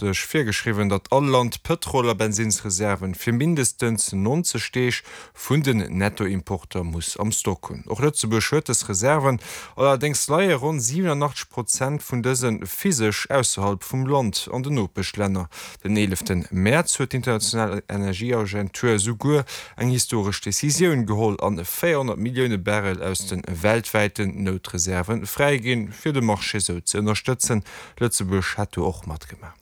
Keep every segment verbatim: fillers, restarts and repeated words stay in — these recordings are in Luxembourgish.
juristesch virgeschriwwen, datt all Land Pëtrol a Bensinnsreserven fir mindestens neunzeg Deeg vun den Nettoimporter muss am Stock hunn. Och Lëtzebuerg huet dës Reserven, allerdéngs leie ronn siwenundzwanzeg Prozent vun dëse physesch ausserhalb vum Land an den Nopeschlänner. Den eeleften Mäerz huet d'International Energieagentur esouguer eng historesch Decisioun geholl an véierhonnert Millioune Barrel aus de weltwäiten Noutreserven fräiginn, fir de Marché sou ze ënnerstëtzen. Lëtzebuerg hätt do och matgemaach.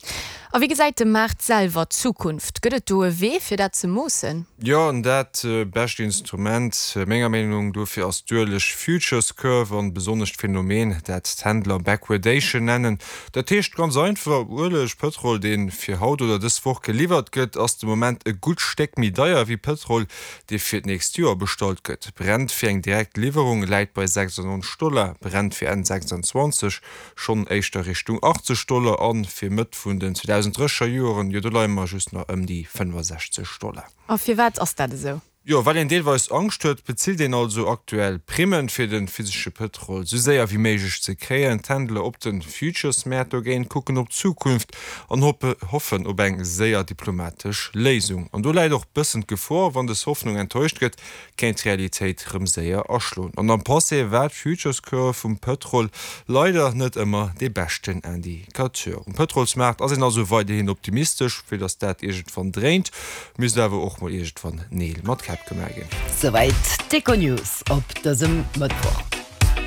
A wéi gesäit de Maart selwer d'Zukunft? Gëtt et do e Wee, fir dat ze moossen? Jo, an dat bescht Instrument, menger Meenung no, dofir ass d'Ueleg Futures Curve an besonnesch d'Phänomen, dat d'Händler Backwardation nennen. Dat heescht ganz einfach, Ueleg, Pëtrol, dee fir haut oder dës Woch geliwwert gëtt, ass de Moment e gutt Stéck méi deier wéi Pëtrol, dee fir d'nächst Joer bestallt gëtt. Brent fir eng direkt Liwwerung läit bei sechsundneunzeg Dollar, Brent fir Enn sechsundzwanzeg schonn éischter Richtung achtzeg Dollar an fir Mëtt vun den zweedausenddrësseger Joren, jo do leie mer just nach ëm déi fënnefasechzeg Dollar. A firwat ass dat esou? Jo, well een deelweis Angscht huet, bezilt een also aktuell Primmen, fir de physesche Pëtrol sou séier wéi méiglech ze kréien. D'Händler op de Futures-Mäert dogéint kucken op d'Zukunft an hoffen op eng séier diplomatesch Léisung. An do läit och bëssen d'Gefor, wann dës Hoffnung enttäuscht gëtt, kéint d'Realitéit rëm séier aschloen. An am Passé war d'Futures Curve vum Pëtrol leider net ëmmer dee beschten Indicateur. Um Pëtrolsmaart ass een also weiderhin optimistesch, fir datt dat iergendwann dréint, misst awer och mol iergendwann Neel mat Käpp gemaach ginn. Souwäit d'Econews op dësem Mëttwoch.